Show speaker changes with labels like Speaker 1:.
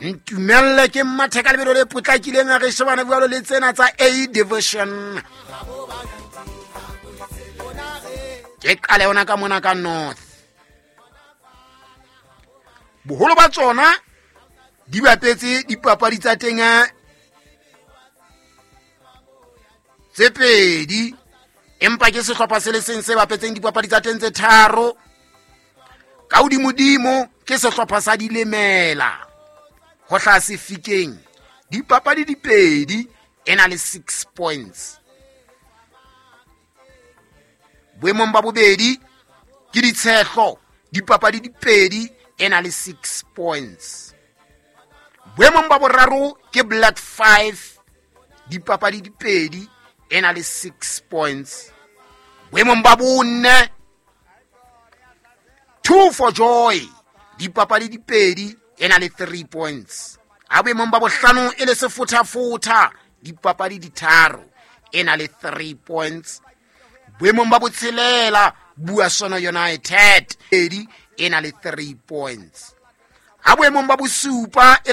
Speaker 1: Ntumelle ke mathe ka lebelo le potlakileng a re shebane jalo le tsena tsa A Division. Ke qale yona ka mona ka North. Boholo ba tsona di bapetse dipapadi tsa teng tse pedi, empa ke sehlopha se le seng se bapetseng dipapadi tsa teng tse tharo. Ka hodimodimo ke sehlopha sa Dilemela ho hlaha Sefikeng, dipapadi di pedi, e na le 6 points. Boemong ba bobedi ke Ditshehlo, dipapadi di pedi, e na le 6 points. Boemong ba boraro ke Black 5, dipapadi di pedi, e na le 6 points. Boemong ba bone 2 for Joy, dipapadi di pedi, e na le 3 points. A boemong ba bohlano e le Sefothafotha, dipapadi di tharo, e na le 3 points. Boemong ba botshelela Buasono United, pedi, e na le 3 points. A boemong ba bosupa e